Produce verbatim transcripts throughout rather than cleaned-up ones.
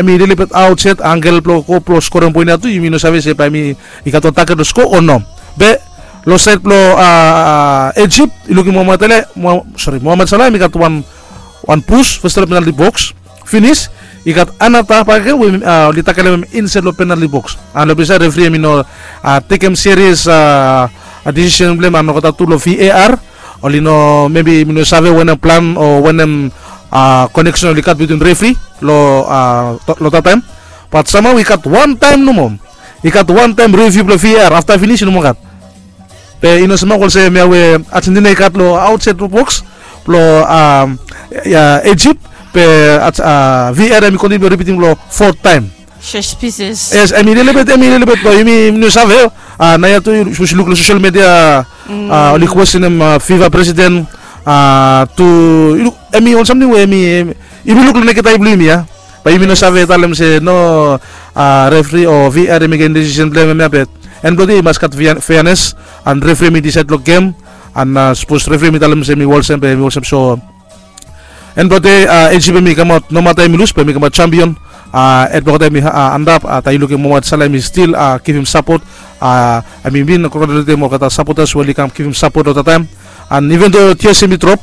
hemi lelebet aot yet, angel blong go blong skorem poen ya tu, yumi no save se bae hemi i gat wan takel blong sko o no. Be long saed blong, a, Ijip, i lukim Mohamed Ali, Mo-, sori, Mohamed Salah hemi gat wan, wan pus, fes long penalti boks. Finis, i gat another bakegen we, a, oli takelem hem insaed long penalti boks. An long ples ya refri hemi no, a, tekem serious, a, a, decision blong hem, an olgeta tu long VAR, oli no, maybe hemi no save wanem plan o wanem, a, connection oli gat between refri long, a, long that time. But somehow i gat wan taem nomo. I gat wan taem review blong VAR, afta finis i no moa gat. Be i no smok olsem ya we Argentina i gat long aot saed long boks blong, a, Ijip. Be, a, VAR hemi kontiniu blong ripitim long fourth taem. Yes, hemi lelebet, hemi lelebet blong yumi, yumi no save. A, naoia tu, sapos yu luk long social media, a, oli kwestenem, a, FIFA president, a, tu, yu luk, hemi wan samting we hemi, hemi, yumi luk long naked eye blong yumi ya. Bae yumi no save talem se no, a, refri o VAR i mekem decision blong hem ya, be en blong dei i mas gat fair-, fairness, an refri hemi disaed long gem, an, a, sapos refri hemi talem se hemi olsem, be hemi olsem. So en blong dei, a, Ijip hemi kamaot, no mata hemi lus, be hemi kamaot champion. A, hed blong olgeta hemi, a, antap, a, taem yu lukim Mohamed Salah hemi stil, a, givim sapot, a, hemi bin congratulatem olgeta supporters we oli kam givim sapot long that taem. An even though tears hemi drop,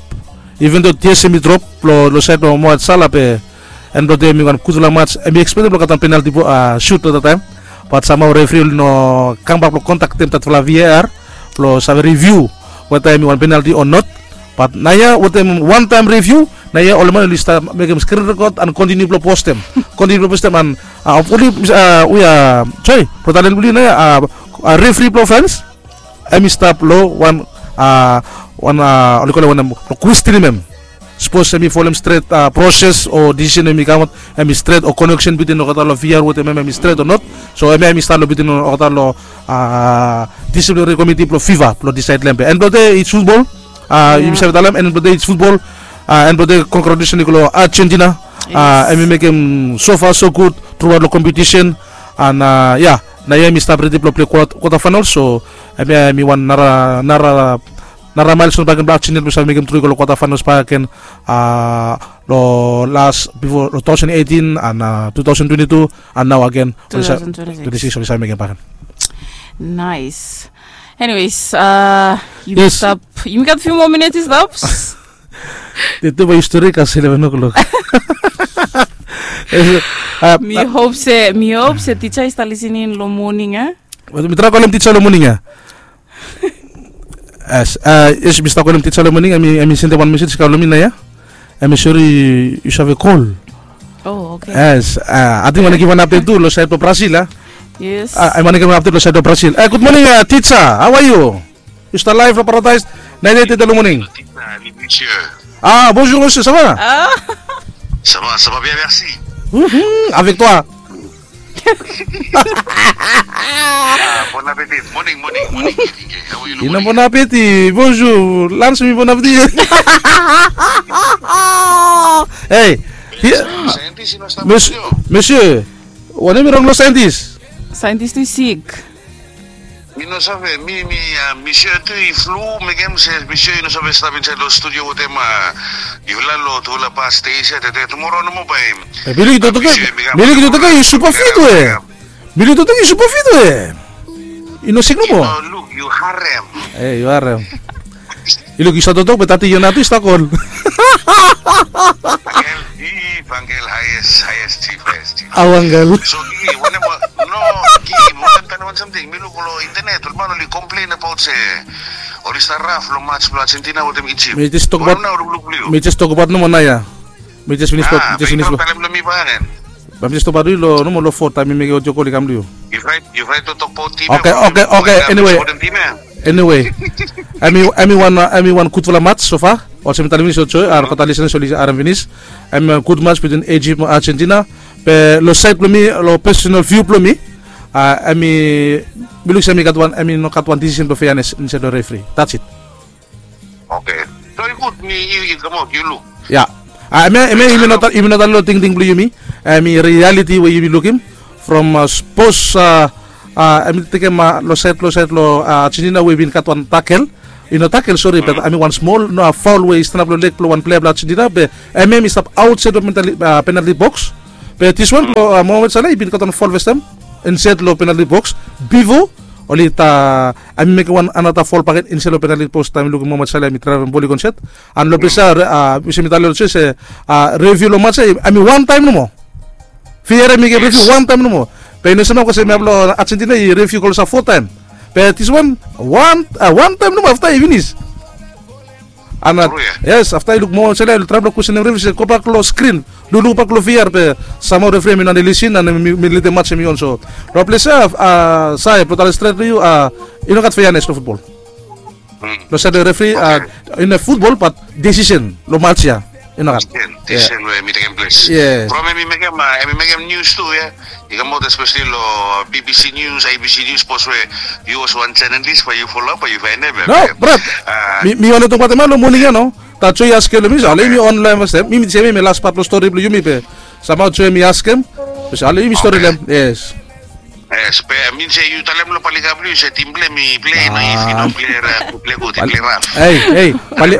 even though tears hemi drop long, long saed blong Mohamed Salah, be en blong dei hemi wan gudfala mats. Hemi ekspektem blong gat wan penalti bo-, a, shoot long that taem. But somehow refri oli no kambak blong kontaktem thatfala VAR blong save review weta hemi wan penalti o not. But naoia wetem wan taem review, naoia ol man oli stap mekem screen record an kontiniu blong postem. Kontiniu blong postem an, a, hopefully, a, we, a, sori, brother Len blong yu naoia, a, a, refri blong France, hemi stap long wan, a, wan, a, oli kolem wanem, blong kwestenem hem. Sapos hemi folem stret, a, proses o decision hemi kamaot, hemi stret o connection between olgeta long VAR wetem hem hemi stret o not. So hemia hemi stap long between olgeta long, a, disciplinary committee blong FIFA blong disaed long hem. Be en blong dei it's football. A, yumi save talem, en blong dei it's football. A, en blong dei congratulations i go long Argentina. A, hemi mekem so far so good throughout long competition. An, a, ya, naoia hemi stap redi blong plei quarter, quarter final. So hemia hemi wan nara, nara nara milestone bakegen blong Argentina blong save mekem tru i go long quarter finals bakegen, a, long las bifo long two thousand eighteen an, a, two thousand twenty-two an nao agen oli sa-, twenty-six oli save mekem bakegen. Nice. Anyways, a, yumi stap, yumi gat few more minutes i stap. Tede bae yu stori kasem eleven o'clock. Mi hop se, mi hop se tija i stap lisening long moning, a? Mi trae kolem tija long moning, a? Yes, a, yes, mi stap kolem tija long moning, hemi, hemi sendem wan message i kam long mi naoia. Hemi sori yu save kol. Oh, okay. Yes, a, ating mi wantem givim wan update tu long saed blong Brazil, a? Yes. A, mi wantem givim wan update long saed blong Brazil. E, good morning, a, tija. How are you? Yu stap live long Paradise ninety-eight tede long moning. A, bonjour, monsieur, ça va? A. Ça va, ça va bien, merci. Mhm, avec toi. A, bon appétit. Moning, moning, moning. Ino bon appétit. Bonjour. Lunch mi bon appétit. Hey. Monsieur, monsieur, wanem i rong long scientist? Scientist tu i sik. Mi no save, mi, mi, a, monsieur tu i flu, mekem se monsieur i no save stap insaed long studio wetem, a, yufala long tufala past days ya, tede tumoro nomo bae. E, mi luk yu toktok ya, mi luk yu toktok ya, yu super fit we. Mi luk yu toktok ya, yu super fit we. Yu no sik nomo. Yu no luk, yu harem. E, yu harem. Yu luk, yu stap toktok be tati yia nao tu yu stap kol. Angel, i, angel, highest, highest chief, highest chief. Awa angel. So, i, wanem, no, i, wanem, tani wan samting, mi luk long internet, ol man oli complain about se oli stap raf long match blong Argentina wetem Egypt. Mi jes tokbaot, mi jes tokbaot nomo naoia. Mi jes finis, mi jes finis. Bae mi stop baot yu long, nomo long four taem mi mekem audio call i kam long yu. Yu fraet, yu fraet blong tokbaot tim ya. Oke, oke, oke, anyway. Anyway, hemi, hemi wan, a, hemi wan gudfala match so far. Olsem mi talem finis, olsem, a, olgeta listeners oli harem finis. Hemi wan gud match between Egypt mo Argentina. Be long saed blong mi, long personal view blong mi, a, hemi, mi luk se hemi gat wan, hemi no gat wan decision blong fairness insaed long referee. That's it. Oke. So i gud, mi, i, i kamaot, yu luk. Ya. A, hemia, hemia, yumi no ta-, yumi no talem long tingting blong yumi. Hemi reality we yumi lukim. From, a, sapos, a, a, hemi tekem, a, long saed, long saed long, a, Argentina we i bin gat wan takel. I no takel, sori, be hemi wan smol, no, a, foul we i stanap long leg blong wan plea blong Argentina, be hemi, hemi stap aotsaed long penalti, a, penalti boks. Be diswan blong Mohamed Salah i bin gat wan fol festem insaed long penalti boks. Bifo oli ta, hemi mekem wan anata fol bakegen insaed long penalti boks taem i lukim Mohamed Salah hemi draevem bol i go insaed. An long ples ia olsem mi talem olsem se, refiu long mats ia hemi wan taem nomo. Viar hemi givim refiu wan taem nomo. Be i no save, bikos hemia blong Argentina i refiu klosap fo taem. Be diswan wan taem nomo afta i finis. Ana, yes, afta i luk Mohamed Salah i traem blong kwestenem refiu se gobak long skrin, lukluk bak long viar be samhao refri hemi no lisin an mi letem mats hemi on. So long ples ia, Sae, blong talem stret long yu, i no gat feanes long futbol. Long saed blong refri, i no futbol bat desisen long mats ia i no gat. Desisen we hemi tekem ples. Yes. From hemi mekem, hemi mekem nius tu ia. I kamaot espeseli long BBC News, ABC News, sapos we yu olsem wan jenalis bae yu foloap bae yu faenem ia. No, brat. Mi wantem tokbaot hemia long moning ia no. That Joe i askem long mi, so ale yumi on long hem fastaem. Mi mi sem hemia las pat blong stori blong yumi be samhao Joe hemi askem. Be so ale yumi stori long hem. Yes. Yes, be min se yu talem long Palika blong yu se tim blong hem i plei, no, if i no plei, plei gud, i plei raf. Ei, ei, Pali,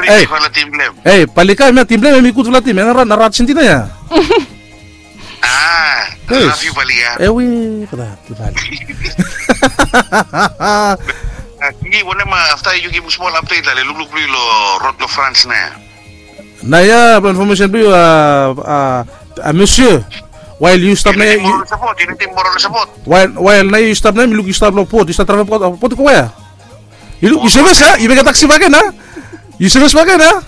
ei, Palika hemia tim blong hem hemi gudfala tim ia, nara Argentina ia. Ah, love you, Palika. Ewe, kata, kata. Ni wanem, afta yu givim smol update, ale lukluk blong yu long rod long France nao. Nao ia, blong information blong yu, Monsieur, wael yu stap nao ia, wael, wael nao yu stap nao ia, mi luk yu stap long bot, yu stap travel bot, bot i go wea? Yu luk, yu sevis ia, yu mekem taksi bakegen ia? Yu sevis bakegen ia?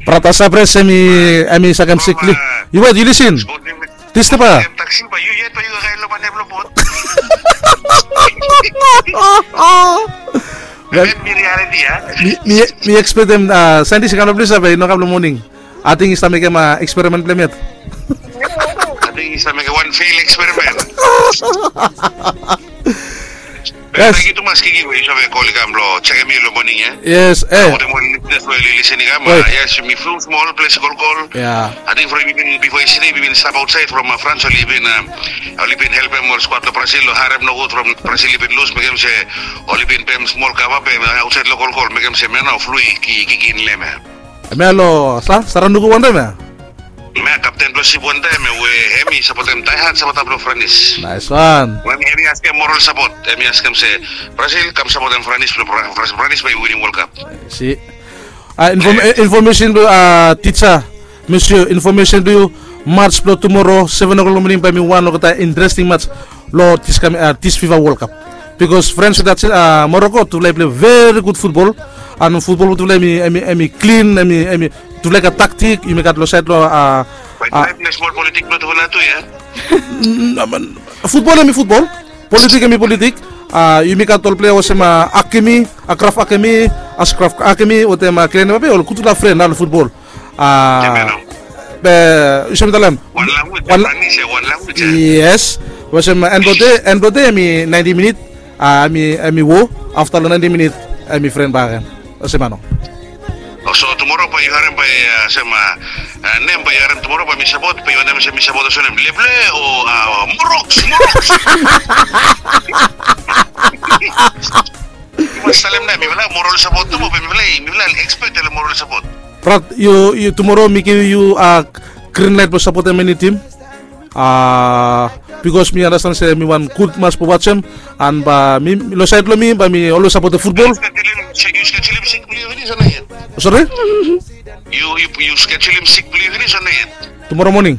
Brata Sabres hemi, hemi sakem sikli. Yu wet, yu lisin. Dis tepa. Mi, mi, mi ekspektem Sandi se kam long ples ia be i no kam long moning. Ating i stap mekem eksperimen blong hem yet. Ating i stap mekem wan fel eksperimen. Yes. Tangkiu tumas Kiki we yu save kol i kam blong jekem mi long moning ia. Yes, eh. Wetem ol lisenas we oli lisin i kam. Yes, yumi flu smol, ples i kolkol. Ia. Ating from yumi bin, bifo yestede yumi bin stap aotsaed from France, oli bin, oli bin helpem ol skuad blong Brazil long harem nogud from Brazil i bin lus, mekem se oli bin pem smol kava be aotsaed long kolkol mekem se hemia nao flu i kikin long hem ia. Hemia long sa, Saranuku wantaem ia? Hemia kapten blong sip wantaem ia we hemi sapotem daehad sapota blong Franis. Naes wan. We hemi askem moral sapot, hemi askem se Brazil kam sapotem Franis blong Franis bae i winim World Cup. Si. Infomesen blong yu, tija, Monsieur, infomesen blong yu, mats blong tumoro seven o'clock long moning bae hemi wan olgeta interesting mats long dis kam, dis FIFA World Cup. Bikos France wetem Moroko, tufala i plei veri gud futbol. An futbol blong tufala hemi, hemi klin, hemi, tufala i gat taktik, yumi gat long saed long a. Bae tufala i plei smol politik blong tufala tu ia. Futbol hemi futbol. Politik hemi politik. Yumi gat ol plea olsem Hakimi, Achraf Hakimi, Achraf Hakimi wetem Kylian Mbappe, ol gudfala fren long futbol. Be yu save talem. Wan language ia, wan language ia. Yes. Olsem end blong dei, end blong dei hemi ninety minit, hemi, hemi wo. Afta long ninety minit hemi fren bakegen. Olsem ia nao. So tumoro bae yu harem bae, olsem nem bae yu harem tumoro bae mi sapot, bae yu wantem se mi sapot olsem nem, Leble o Moroks, Moroks. Yu mas talem nao, mifala moral sapot tu mo be mifala, mifala ekspet ia long moral sapot. Brat, yu, yu tumoro mi givim yu grin laet blong sapotem eni tim. Bikos mi anastan se mi wan gud mats blong wajem. An bae mi, long saed blong mi bae mi olwes sapotem futbol. Sore? Yu, yu, yu skedulem sik blong yu finis o no yet? Tumoro moning.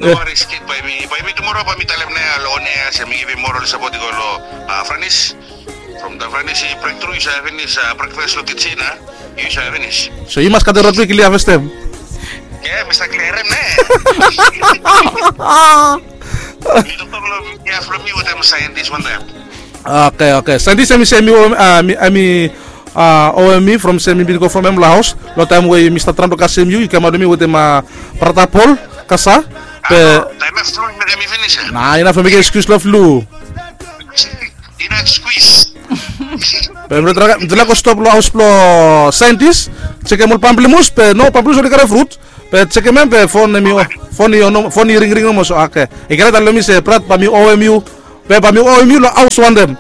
No waris, kid, bae mi, bae mi tumoro bae mi talem nao long on air se mi givim moral sapot i go long Franis. From taem Franis i brektru, yu save finis brekfas long kijen ia. Yu save finis. So yu mas katem rod blong yu klia fastaem. Ia, mi save kliarem nao. Mi toktok long midia from mi wetem saentis wantaem. Oke, oke. Saentis hemi se hemi, hemi owem mi from se mi bin go from hem long haos. Long taem we mi stap traem blong kasem yu, yu kamaot long mi wetem brata Pol Kasa. Be taem ia flu i mekem mi finis ia. Na, inaf long mekem ekskius long flu. Inaf skuis. Be mitufala go stop long haos blong saentis. Jekem ol pamplimus, be no pamplimus oli karem frut. Be jekem hem be fon hemi, fon i ringring nomo. So oke. I klia talem long mi se brat, bae mi owem yu Be bae mi waoem yu long haos wantem.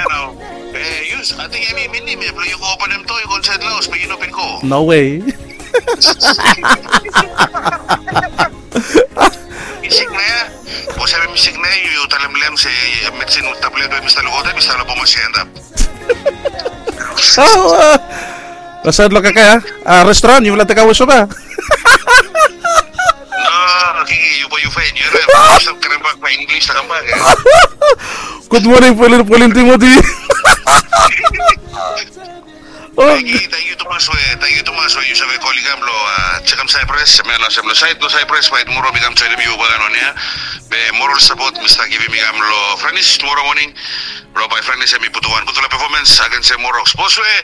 Nao, e, yus, ating hemi minim ya blong yu go openem doa, yu go insaed long haos be yu no bin go. No way. Mi sik nao ya. Bos, hemi sik nao ya, yu talem long hem se medsin tablet we mi stap lukaotem i stap long bomas ya antap. Long saed long kakae ya, a, restoran yufala tekawe sop ya. No, okay, yu bae yu faen, yu harem, yu stap karembak bae Inglis i kambak ya. Gud moning Paulin, Paulin Timoti. Tangkiu, tangkiu tumas we, tangkiu tumas we yu save kolem i kam long, a, jekem Saipras, hemia long, hemia long saed blong Saipras, bae tumoro mi kam joenem yu bae long ia. Be moral sapot mi stap givim i kam long Franis tumoro moning. Blong bae Franis hemi putum wan gudfala pefomens agens Morok. Sapos we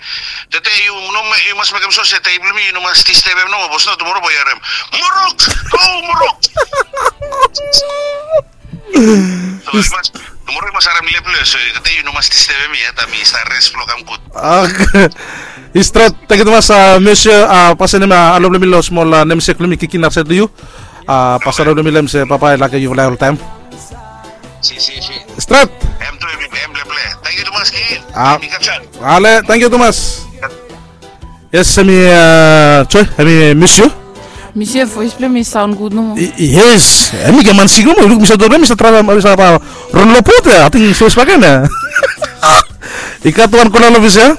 tede yu no, yu mas mekem sua se tei blong mi yu no mas distebem nomo, bos nao tumoro bae yu harem, "Morok, go Morok!" So yu mas, tumoro yu mas harem lep blong yu, so tede yu no mas distebem mi ya, taem mi stap res blong kam gud. Oke. I stret, tangkiu tumas, a, Monsieur, a, pasenem, a, alo blong mi long smol, a, namesake blong mi, Kiki, nating saed long yu. A, pasenem alo blong mi long hem se babae, i lake yufala oltaem. Si, si, si. Stret. Hem tu, hem, hem leple. Tangkiu tumas, Kiki. A. Mi kapsa. Ale, tangkiu tumas. Yes, hemi, a, Joy, hemi Monsieur. Monsieur, voes blong hem i saon gud nomo. I, i, yes, hemi gat man sik nomo, luk mi save tolem, mi save traem, mi save, a, ron long bot ya, ating voes bakegen ya. I gat wan kola long ofis ya.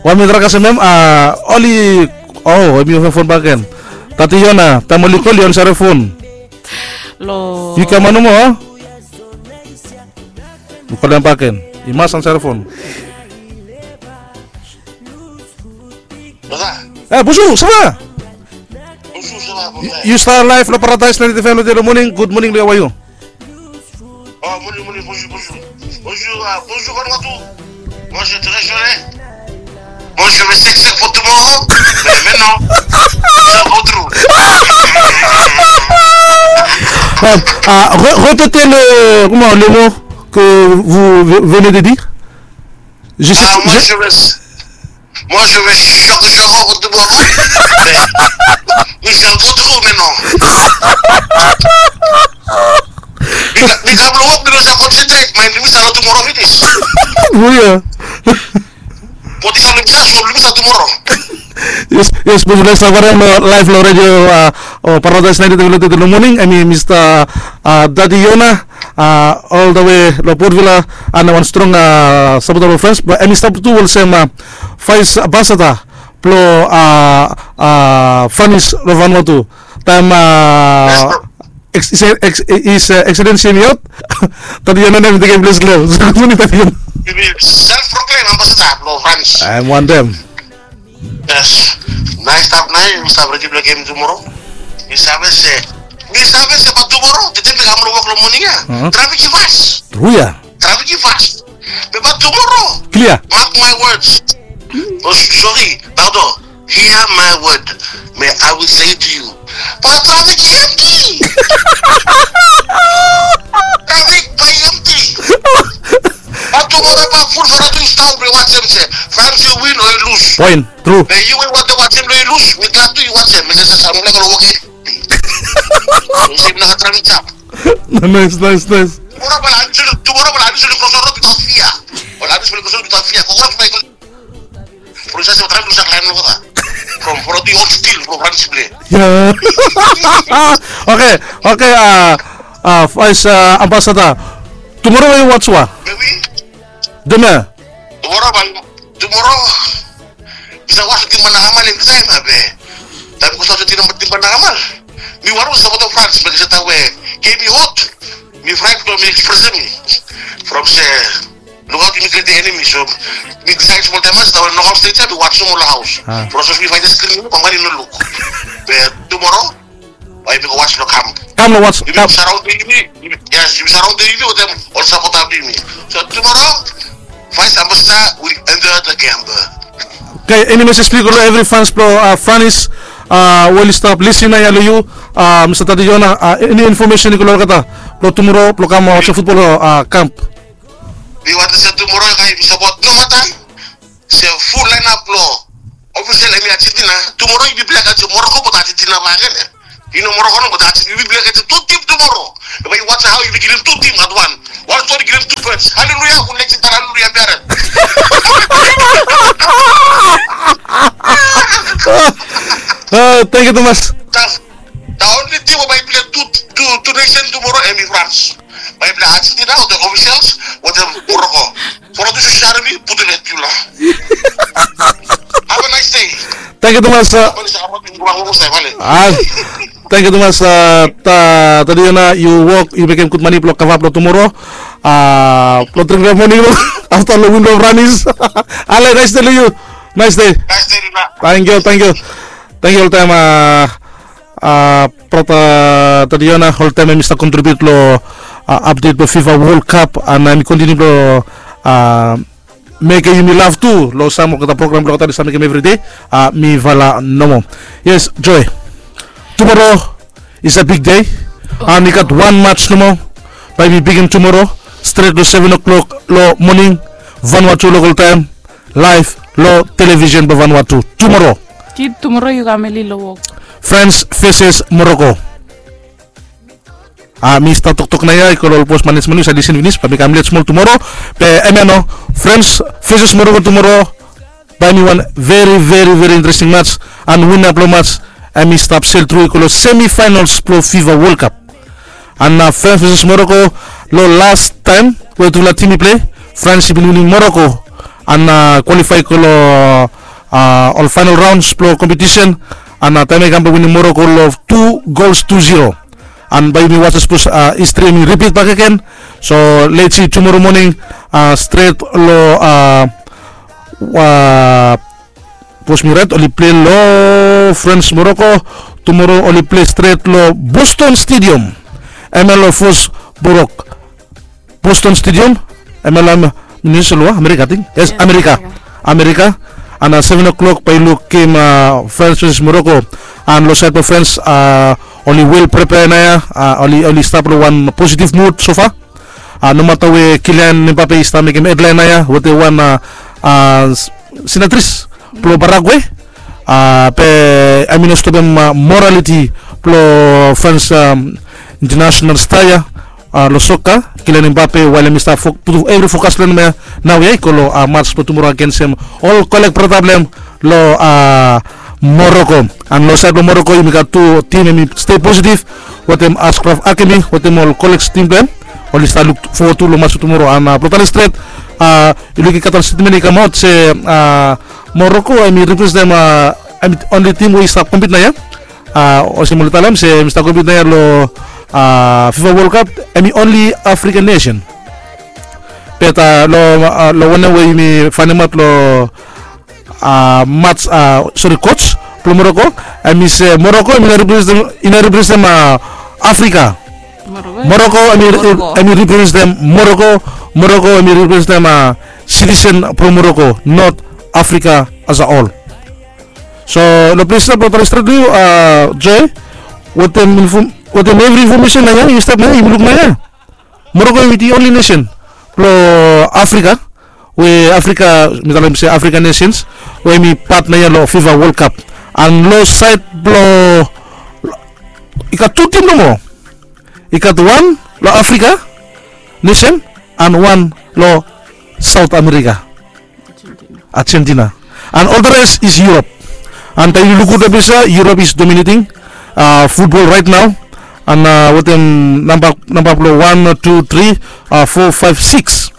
Wan mi traem kasem hem, a, oli, o, hemi fon bakegen. Tati Yona, taem oli kol yu ansarem fon. Long. Yu kam nomo, a? Mi kolem bakegen. I mas ansarem fon. Brata. E, Busu, sava? Busu, sava, brata. Yu stap laef long Paradaes naenti faiv long moning. Gud moning long yu, hao a yu? O, moning, moning, Busu, Busu. Busu, a, Busu Vanuatu. Busu, thank yu, e. Busu, mi seksek fo tumoro. Be, be, no. So, go tru. A, a, go, go tete le, kuma, le mo, ke vu, ve, venez de dire. Je sais, a, moi, je, je vais Moi, je vais choc, choc au bout du bois. Mais, mais c'est un peu trop maintenant. Mi, mi kam long wok, mi no save konsentrate, man. Mi save tumoro finis. Buya. Bot i kam long mi save, mi save tumoro. Yes, yes, bos, laef long radio, a, o Paradaes naenti faiv long moning, hemi Mista, a, Tati Yona. A, ol the way long Port Vila, a, wan strong, a, sapota blong Frans, be hemi stap tu olsem, a, vaes ambasada blong, a, a, Franis long Vanuatu. Taem, a, His Excellency hemi aot, Tati Yona hemi tekem ples blong hem. So gud moning Tati Yona. Hemi self proclaim ambasada blong Frans. Hemi wantem. Yes. Naes stap nao, mi stap redi blong gem tumoro. Mi save se, mi save se bae tumoro, tede mi kam long wok long moning ya. Trafik i fas. Tru ya. Trafik i fas. Be bae tumoro. Klia. Mark my words. O, sori, pardon. Hear my word. May I will say it to you. Bae trafik i emti. Trafik bae i emti. Bae tumoro bae ful Vanuatu i stap blong i wantem se Frans i win o i lus. Poen. Tru. Be yu we yu wantem wantem blong i lus, mi kam tu i wantem, mi se sasa mi laik long wok. Yu se mi laik travel jab. Naes, naes, naes. Tumoro bae la anunsium, tumoro bae la anunsium long Crossroad without fear. Bae la anunsium long Crossroad without fear. Kokorat bae i, from sasa travel to Sacramento kota. From, from the old steel, from Frans blong. Ya. Oke, oke, a, a, vaes, a, ambasada. Tumoro we yu wantem sua? Be we? Deme. Tumoro bae, tumoro. Mi save was wetem Managamal evri taem ya be. Taem mi go saut wetem Managamal, mi wantem sapot Frans, be se taem we gem i hot, mi fraet blong mi express mi. From se, lukaot, yumi kret enemi, so mi disaed smol taem ya se taem we nokol stret ya mi was nomo long haos. From sapos mi faenem skrin, bambae i no luk. Be tumoro, bae yumi go was long kamp. Kam long was, yumi kam. Saraondem yumi, yes, yumi saraondem yumi wetem ol sapota blong yumi. So tumoro, Vice Ambassador will enter the camp. Oke, eni mesej blong yu go long evri fans blong, a, Franis, a, we oli stap lisin nao ya long yu, a, Mista Tati Yona, a, eni infomesen i go long olgeta blong tumoro blong kam, a, wajem futbol, a, kamp? Mi wantem se tumoro, yumi sapot, no mata se ful laenap blong ofisel hemi Argentina, tumoro yumi plei agens Moroko, be Argentina bakegen ya. Yu no Moroko no, but ati yu bin play against tu tim tumoro. Bai yu watch how yu bin kilim tu tim at wan. Wan stori kilim tu points. Haleluya, un legend, haleluya, beret. Thank you tumas. The only team bai play tu tu tu nation tumoro emi France. Bai play Argentina, the officials, with the Morocco. Foro tu share mi, put it at you la. Have a nice day. Thank you tumas. Apa ni sa apa ni kurang ngomong saya balik. Ah, thank you tumas. Uh, ta tadi ona yu wok yu mekem gud mani blo kava blo tumoro. Uh, blo dring blo moning lo afta lo win blo Franis. Ale, nice day lo yu. Nice day. Nice day, Rina. Thank you, thank you. Thank you oltaem. Uh, uh, brata tadi ona oltaem em i stap contribute lo uh, update blo FIFA World Cup and em i continue blo uh, mekem yumi love tu lo sam olgeta program blo olgeta mi stap mekem everyday. Uh, mi vala nomo. Yes, Joy. Tumoro is a big day. And i gat wan match nomo. Bai mi bigin tumoro stret lo seven o'clock lo moning, Vanuatu local time, live lo television blo Vanuatu tumoro. Kid tumoro yu kam eli lo wok. France versus Morocco. A mi stap toktok nao ya i go lo ol bos manesmen yu save lisin finis, be mi kam let smol tumoro. Be hemia nao, France versus Morocco tumoro. Bae hemi wan very very very interesting match. And wina blo match hemi stap sel tru i go lo semifinals blo FIFA World Cup. And na France versus Morocco, lo las taem we tufala tim i plei, France i bin winim Morocco and kwalifai i go lo ol final rounds blo kompetisen. And taem ya i kam bae winim Morocco lo tu gols tu zero. And bae yumi wasem sapos histri hemi ripit bakegen. So let's see tumoro moning, stret lo, sapos mi rait, oli plei lo France Morocco. Tumoro oli plei stret lo Boston Stadium. Hemia lo Foxborough, Boston Stadium. Hemia lo Minnesota, Amerika ating. Yes, Amerika. Amerika. And seven o'clock bae i lukim France versus Morocco. And lo saed blo France, oli well prepare nao ya. Oli stap lo wan positive mood so far. Nomata we Kylian Mbappe i stap mekem hedlaen nao ya wetem wan sinatris blo Paraguay. Be hemi no stopem moraliti blo France international star ya lo soka, Kylian Mbappe, wael hemi stap putum evri fokas blo hem ya nao ya i go lo match blo tumoro agensem ol kolek brata blo hem lo Morocco. And lo saed blo Morocco yumi gat tu tim hemi stei positive wetem Achraf Hakimi wetem ol kolek tim blo hem. Oli stap luk fowod tu lo match blo tumoro. And blo talem stret, yu luk i gat wan stetmen i kamaot se Morocco hemi representem, hemi onli tim we i stap kompit nao ya. Olsem oli talem se hemi stap kompit nao ya lo FIFA World Cup, hemi onli African nation. Be lo wanem we yumi faenemaot lo match, sori, coach blo Morocco, hemi se Morocco hemi no representem Afrika. Morocco hemi representem Morocco. Morocco hemi representem citizen blo Morocco, not Africa as a whole. So lo ples ya blo talem stret lo yu, Joy, wetem evri infomesen nao ya yu stap nao ya yumi luk nao ya, Morocco hemi the only nation blo Africa, we Africa, mi talem se African nations, we hemi pat nao ya lo FIFA World Cup. And lo saed blo, i gat tu tim nomo. I gat wan lo Africa nation and wan lo South America, Argentina. And all the rest is Europe. And taem yu luk gud lo ples ya, Europe is dominating football right now. And wetem namba blo wan, tu, tri, fo, faef, sikis,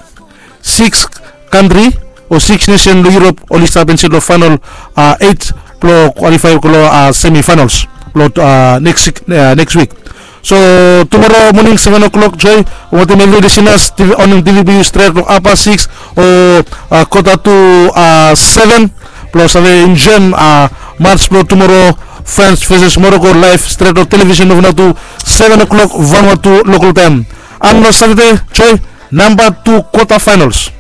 sikis kantri o sikis nesen lo Europe oli stap insaed lo final eit blo kwalifai i go lo semifinals lo next week. So tumoro moning seven o'clock, Joy, wetem evri lisenas, TV, onem DVB stret lo apa sikis o kota tu seven, blo save enjoem match blo tumoro, France versus Morocco, live stret lo television blo Vanuatu, seven o'clock Vanuatu local time. And lo Satade, Joy, namba tu quarter finals.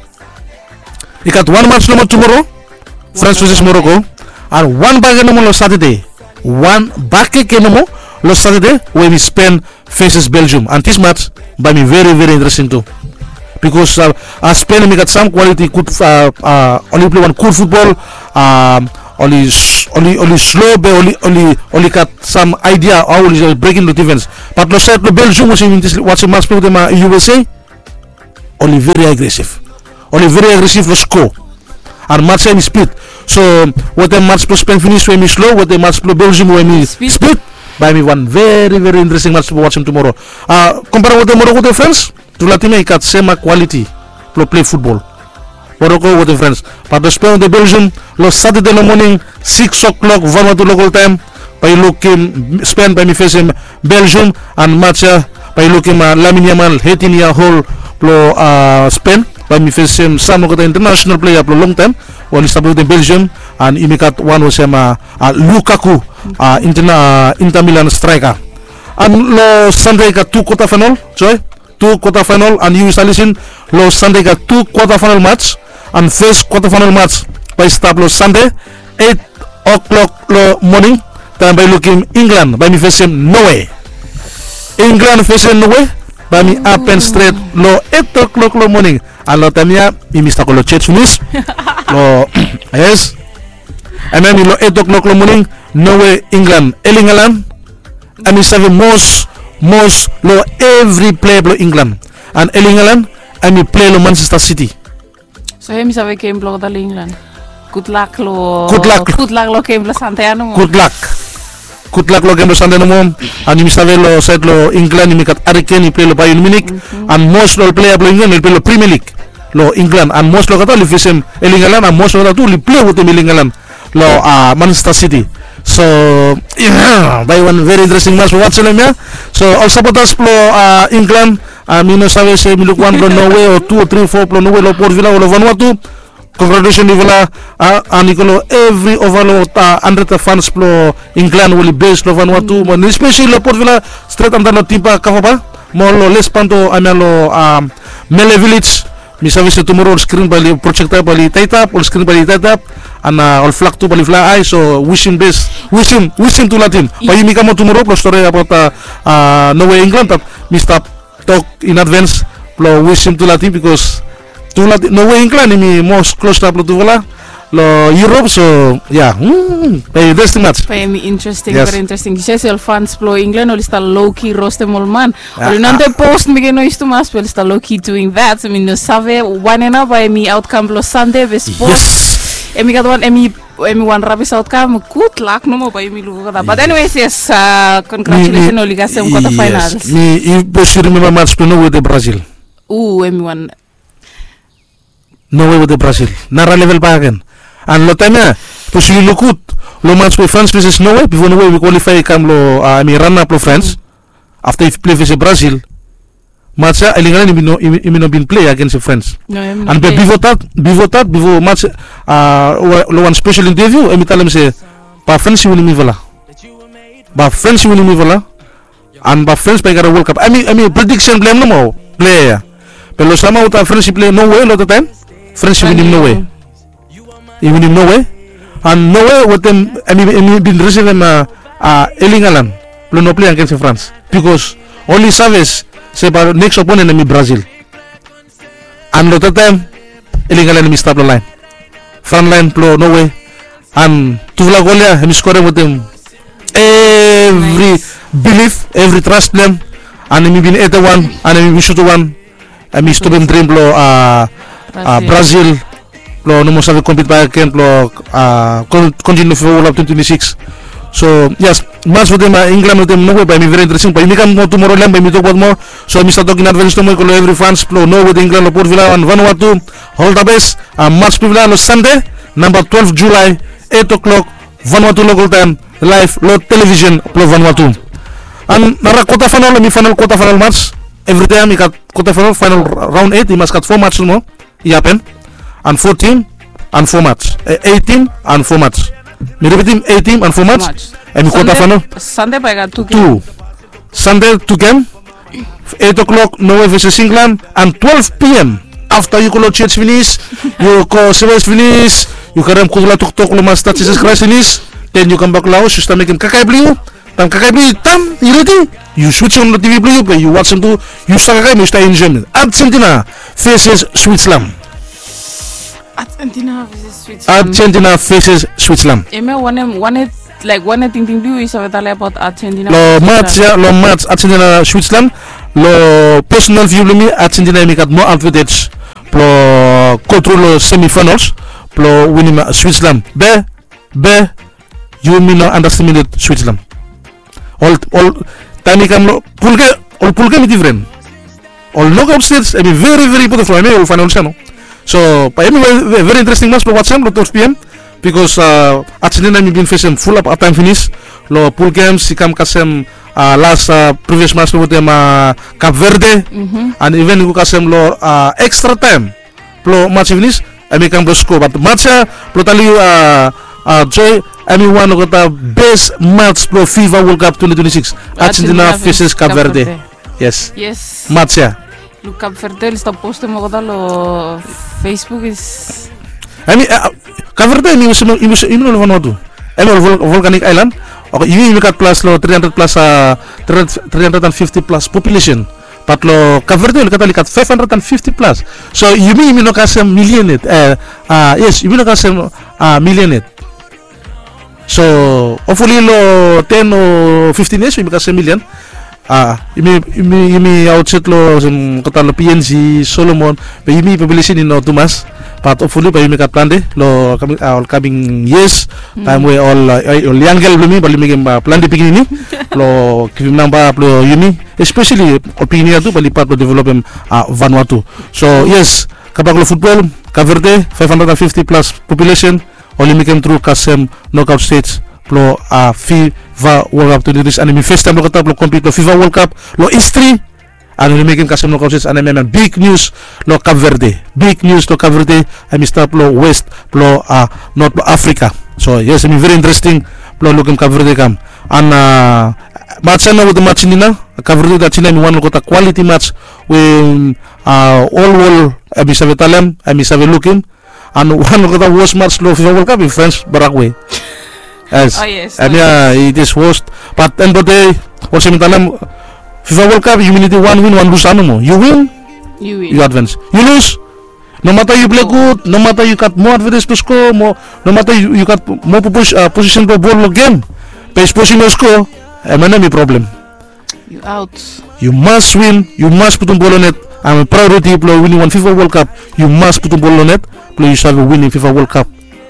I gat wan match nomo tumoro, France versus Morocco. And wan bakegen nomo lo Satade. Wan bakegen nomo lo Satade we hemi Spain versus Belgium. And this match bae hemi very very interesting tu. Bikos Spain hemi gat sam kwaliti gud, oli plei wan gud futbol. oli slo be oli oli oli gat sam aidia hao oli brekim long difens. Bat long saed long Belgium olsem mi wasim mats blong wetem USA, oli veri agresiv. Oli veri agresiv long sko. An mats ya hemi spid. So wetem mats blong Spen finis we hemi slo, wetem mats blong Belgium we hemi spid, bae hemi wan veri veri interesting mats blong wasim tumoro. Kompare wetem Moroko wetem Frans, tufala tim ya i gat sem kwaliti blong pilei futbol. Moroko wetem Frans. Bat long Spen wetem Belgium long Satade long moning, sikis oklok Vanuatu lokal taem, bae yu lukim Spen bae hemi fesem Belgium. An mats ya bae yu lukim Lamine Yamal, eitin yia ol blong Spen, bae hemi fesem sam olgeta intanasenal plea blong longtaem we oli stap wetem Belgium. An yumi gat wan olsem Lukaku, Inter Milan straeka. An long Sande i gat tu kwata faenol, Joe. Tu kwata faenol, an yu save lisin, long Sande i gat tu kwata faenol mats. An fes kwata faenol mats bae i stap long Sande, eit oklok long moning, taem bae yu lukim Inglan bae hemi fesem Nowe. Inglan fesem Nowe bae hemi hapen stret long eit oklok long moning. An long taem ya yumi stap go long jos finis. Long, yes, hemia hemi long eit oklok long moning. Nowe, Inglan. Elingalan hemi save mos mos long evri plea blong Inglan. An Elingalan hemi plei long Manchester City. So hemi save gem blong olgeta long Inglan. Gudlak long gudlak long gem blong Sande ya nomo. Gudlak. Gudlak long gem blong Sande nomo. An yumi save long saed long Inglan yumi gat Harry Kane i plei long Bayern Munich. An mos long ol plea blong Inglan oli plei long Premier League long Inglan. An mos long olgeta oli fesem Elingalan, an mos long olgeta tu oli plei wetem Elingalan long Manchester City. So bae wan veri interesting mats blong wasim hemia. So ol sapotas blong Inglan, mi no save se mi luk wan blong Nowe o tu o tri o fo blong Nowe long Port Vila o long Vanuatu. Kongratulesen yufala. An i go long evri ova long handred fans blong Inglan we oli bes long Vanuatu, mo espeseli long Port Vila, stret antap long Timba Kavaba, mo long Lespanto, hemia long Mele Vilej. Mi save se tumoro ol skrin bae oli, projekta bae oli taetap, ol skrin bae oli taetap, an ol flag tu bae oli flae hae. So wisim bes, wisim, wisim tufala tim. Bae yumi kam aot tumoro blong stori abaot Nowe, Inglan, bat mi stap tok in advance blong wisim tufala tim, bikos tufala tim, Nowe, Inglan hemi mos klosap long tufala long Europe. So ya, bae interesting mats. Bae hemi interesting, veri interesting. Yu save se ol fans blong Inglan oli stap low key rostem ol man. Oli no wantem pos mekem noes tumas, be oli stap low key doing that. So mi no save wanem nao bae hemi aotkam blong Sande be spot. Hemi gat wan, hemi wan rabis aotkam. Gudlak nomo bae yumi luk olgeta. Bat anyways, yes, kongratulesen oli kasem kwata faenol. Mi, sapos yu rimemba mats blong Nowe wetem Brazil. U, hemi wan Nowe wetem Brazil, nara level bakegen. An long taem ya, sapos yu luk gud long mats we Frans veses Nowe, bifo Nowe hemi kwalifae i kam long, hemi ranap long Frans, afta i plei veses Brazil, mats ya Elingalan hemi no, hemi no bin plei agens Frans. An be bifo dat, bifo dat, bifo mats, long wan spesel inteviu hemi talem se bae Frans i winim yufala. Bae Frans i winim yufala. An bae Frans bae i karem World Cup. Hemi, hemi prediksen blong hem nomo, plea ya. Be long samhao taem Frans i plei Nowe long dat taem, Frans i winim Nowe. I winim Nowe. An Nowe wetem, hemi, hemi bin risivim Elingalan blong no plei agens Frans, bikos oli save se bae neks oponen hemi Brazil. An long dat taem Elingalan hemi stap long laen, frontlaen blong Nowe. An tufala gol ya hemi skorem wetem evri bilif, evri tras blong hem. An hemi bin hede wan, an hemi bin sutum wan, hemi stopem drim blong Brazil blong no moa save kompit bakegen blong kontiniu long FIFA World Cup twenti twenti sikis. So yes, mats wetem Inglan wetem Nowe bae hemi veri interesting, bae yumi kam moa tumoro long hem, bae yumi tokbaot moa. So mi stap tok in advance nomo i go long evri fans blong Nowe wetem Inglan long Port Vila an Vanuatu. Ol the best. Mats blong yufala long Sande, namba twelve July, eit oklok Vanuatu lokal taem, laev long televisen blong Vanuatu. An nara kwata faenol, hemi faenol kwata faenol mats. Evri taem i gat kwata faenol, faenol raon eit i mas gat fo mats nomo i hapen. An fo tim an fo mats, eit tim an fo mats. Mi ripitim, eit tim an fo mats. Hemi kwata faenol. Sande bae i gat tu gem. Sande tu gem. Eit oklok Nowe veses Inglan, an twelve p.m. afta yu go long jos finis, yu go seves finis, yu karem gudfala toktok long Masta Jisas Kraes finis, den yu kambak long haos, yu stap mekem kakae blong yu. Taem kakae blong yu i dan, i redi, yu switch on long TV blong yu be yu wajem tu, yu stap kakae mo yu stap enjoem. Argentina veses Switzerland. Argentina versus Switzerland. Argentina versus Switzerland. Em ya wanem, wane, like, wane tingting blong yu yu save talem about Argentina? Lo match ya, lo match Argentina Switzerland, lo personal view blong mi, Argentina hemi gat moa advantage blong go tru lo semifinals blong winim Switzerland. Be, be yumi no underestimate Switzerland. Ol, ol taem i kam lo pul gem, ol pul gem i difren. Ol knockout stage hemi very, very important from hemi ol finals ya no. So bae hemi very, very interesting match blong wajem lo twelve p.m. Bikos Argentina hemi bin fesem fulap haftaem finis lo pul gems, i kam kasem las previous match lo wetem Cape Verde. And even i go kasem lo extra time blong match i finis, hemi kam blong sko. Bat match ya, blong talem yu, Joy, hemi wan lo olgeta best match blong FIFA World Cup twenty twenty-six. Argentina versus Cape Verde. Yes. Match ya. Luk, Cape Verde oli stap postem olgeta lo Facebook. Hemi, Cape Verde hemi, hemi no lo Vanuatu. Hemi ol volcanic island. Oke, yumi, yumi gat plus lo three hundred plus, three hundred and fifty plus population. Bat lo Cape Verde olgeta oli gat five hundred and fifty plus. So yumi, yumi no kasem million yet. Yes, yumi no kasem million yet. So hopefully lo ten o fifteen years yumi kasem million. Yumi, yumi, yumi aotsaed lo olsem olgeta lo P N G, Solomon, be yumi population i no tumas. Bat hopefully bae yumi gat plante lo ol coming years. Taem we ol, ol yang gel blong yumi bae oli mekem plante pikinini blong givim namba blong yumi. Especially ol pikinini ya tu bae oli pat blong developem Vanuatu. So yes, kambak lo futbol, Cape Verde, five hundred and fifty plus population, oli mekem tru kasem knockout stage blong FIFA World Cup twenty twenty-six, and hemi festaem lo olgeta blong compete lo FIFA World Cup lo history. And oli mekem kasem knockout stage, and hemi big news lo Cape Verde. Big news lo Cape Verde, hemi stap lo west blong North blong Africa. So yes, hemi very interesting blong lukim Cape Verde kam. And match ya nao wetem Argentina, Cape Verde wetem Argentina hemi wan lo olgeta quality match we ol wol hemi save talem, hemi save lukim. And wan lo olgeta worst match lo FIFA World Cup i France Paraguay. Yes. Hemi ya, it is worst. Bat end of the day, olsem mi talem, FIFA World Cup yumi nidim wan win, wan lus nomo. Yu win, yu advance. Yu lus, nomata yu plei gud, nomata yu gat moa advantage blong sko, nomata yu gat moa posisen blong bol lo gem, be sapos yu no sko, hemia nao hemi problem. Yu aot. Yu mas win, yu mas putum bol lo net. Hemi priority blong winim wan FIFA World Cup. Yu mas putum bol lo net blong yu save winim FIFA World Cup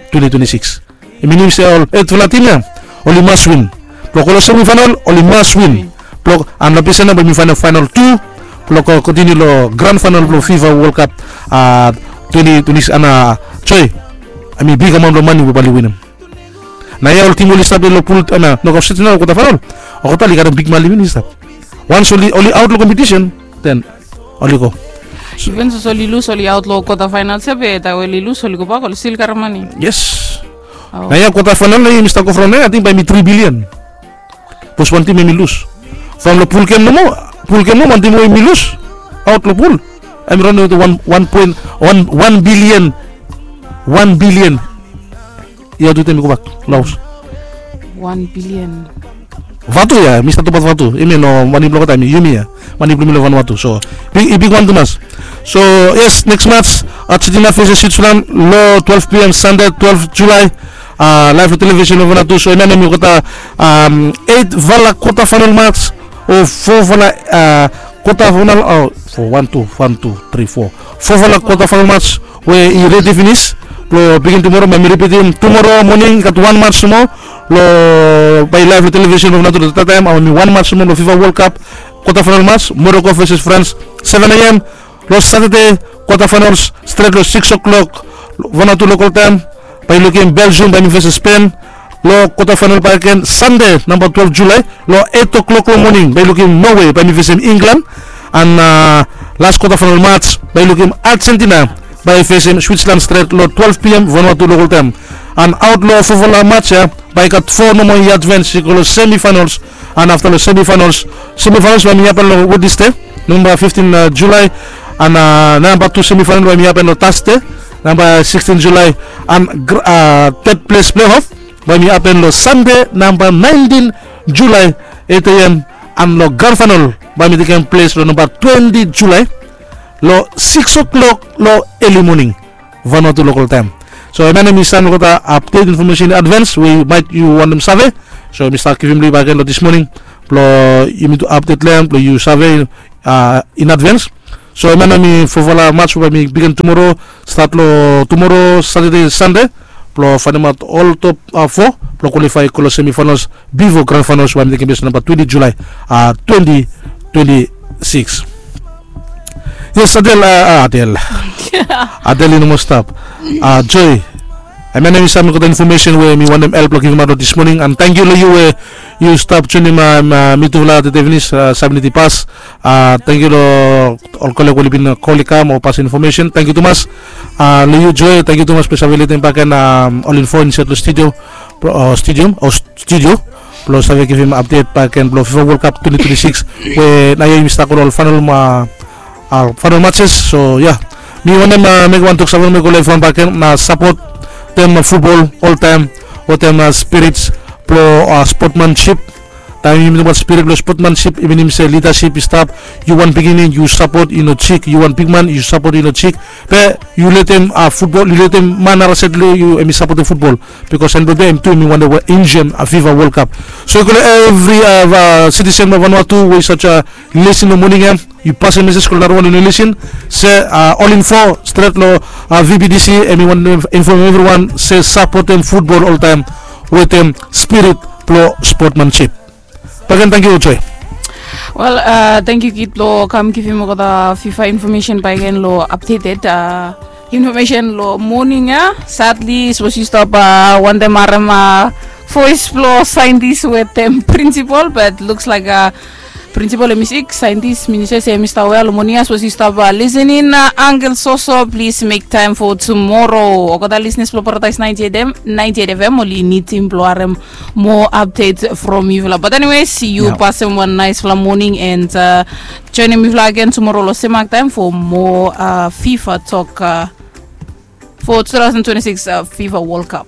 twenty twenty-six. I minim se ol etfala tim ya oli mas win. Blong go lo semifinal oli mas win. Blong, and long ples ya nao bae yumi faenem final tu blong go kontiniu lo grand final blong FIFA World Cup twenty twenty-six. And Joy, hemi big amaon blong mane we bae oli winim. Naoia ol tim oli stap lo pul, hemia, nokap stage nao, kwata faenol. Olgeta oli karem big mane i stap. Wans oli, oli aot lo kompetisen, den oli go. Iven sapos oli lus, oli aot lo kwata faenol se be taem we oli lus oli gobak, oli stil karem mane. Yes. Naoia kwata faenol nao yumi stap go from naoia, ating bae hemi tri bilian. Sapos wan tim hemi lus. From lo pul gem nomo, pul gem nomo, wan tim we hemi lus aot lo pul, hemi raon wetem wan, wan poen wan, wan bilian. Wan bilian. Ia tu taem i gobak lo haos. Wan bilian. Vatu ia, mi stap tokbaot Vatu. Hemia no mane blong olgeta, hemi yumi ia. Mane blong yumi lo Vanuatu. So big, i bigwan tumas. So yes, next match, Argentina versus Switzerland lo twelve p.m. Sunday, twelve July. Live lo television lo Vanuatu. So hemia hemi olgeta eitfala quarter final match o fofala quarter final, o fo, wan, tu, wan, tu, tri, fo. Fofala quarter final match we i redi finis. Lo bigin tumoro, bae mi ripitim, tumoro moning i gat wan match nomo lo, bae live lo television lo Vanuatu lo tataem, hemi wan match nomo lo FIFA World Cup quarter final match, Morocco versus France, seven a.m. Lo Saturday, quarter finals stret lo six o'clock Vanuatu local taem. Bae lukim Belgium bae hemi versus Spain. Lo quarter final bakegen Sunday, namba twelve July, lo eight o'clock lo moning, bae lukim Norway bae hemi fesem England. And las quarter final match bae lukim Argentina bae fesem Switzerland stret lo twelve p.m. Vanuatu local taem. And aot lo fofala match ia, bae i gat fo nomo i advance i go lo semifinals. And afta lo semifinals, semifinals bae hemi hapen lo Wednesday, namba fifteen July. And namba tu semifinal bae hemi hapen lo Thursday, namba sixteen July. And third place playoff bae hemi hapen lo Sunday, namba nineteen July, eight a.m. And lo grand final bae hemi tekem ples lo namba twenty July, lo six o'clock lo early moning Vanuatu local taem. So hemia nao mi save mi gota update information in advance we maet yu wantem save. So mi stap givim long yu bakegen long this morning blong yumi tu update long hem blong yu save in advance. So hemia nao mi fofala match we bae mi bigin tumoro, stat long tumoro Satade, Sande, blong faenemaot ol top fo blong kwalifai go long semifinals bifo grand finals we bae mi tekem ples long namba twenti Julai twenti twenti sikis. Yes, Adel, Adel. Adel i no moa stap. Joy, hemia nao mi save mi gota information we mi wantem help long givimaot long this morning. And tangkiu long yu we yu stap joinim mitufala tede finis, seventy pas. Tangkiu long ol koleg we oli bin kol i kam o pas infomesen. Tangkiu tumas long yu, Joy. Tangkiu tumas blong save letem bakegen ol info insaed long studio, studio o studio blong save givim update bakegen blong FIFA World Cup twenti twenti sikis we naoia yumi stap go long ol faenol matches. So ya, mi wantem mekem wan tok save long mi go long evriwan bakegen na sapotem futbol oltaem wetem spirits blong spotmansip. Taem yumi tokbaot spirit blong spotmansip i minim se lidasip i stap. Yu wan pikinini yu sapot i no jik, yu wan bigman yu sapot i no jik. Be yu letem futbol, yu letem man narasaed long yu hem i sapotem futbol. Bikos hem blong hem tu hem i wantem we enjoem FIFA World Cup. So i go long evri sitisen blong Vanuatu we i save lisin long moning ya. Yu pasem meses go long narawan we i no lisin se ol info stret long VBTC, hem i wantem infomem evriwan se sapotem futbol oltaem wetem spirit blong spotmansip. Bakegen tangkiu, Joy. Wel, tangkiu kid blong kam givim olgeta FIFA infomesen bakegen long updated infomesen long moning ya. Sadli sapos yu stap wantem harem voes blong saentis wetem prinsipol, but luks laek prinsipol hem i sik, saentis, minister se hem i stap wel. Long moning ya sapos yu stap lisening, angel soso, plis mek taem fo tumoro. Olgeta lisenas blong Paradaes naenti eit FM oli nidim blong harem moa update from yufala. But anyways, yu pasem wan naesfala moning and joenem yufala agen tumoro long sem mak taem fo moa FIFA tok fo two thousand twenty-six FIFA World Cup.